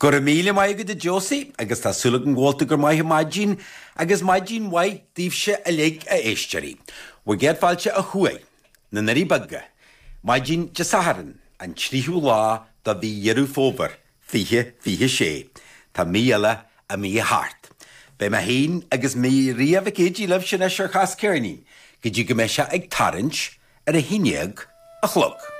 Go raibh míle maith agat a Josie agus tá súil agam go bhfuil tú go maith ar maidin agus maidin mhaith daoibhse uilig a éisteoirí. Bhur gcéad fáilte ó thuaidh na nDoirí Beaga, maidin Dé Sathairn, an tríú lá de mhí Dheireadh Fómhair, 2026. Tá mí eile imithe thart. Beidh mé féin agus Maria Mhic Géidigh libhse anois ar Chas Ceirnín go dtí go mbeidh sé ag tarraingt ar a haon dhéag a chlog.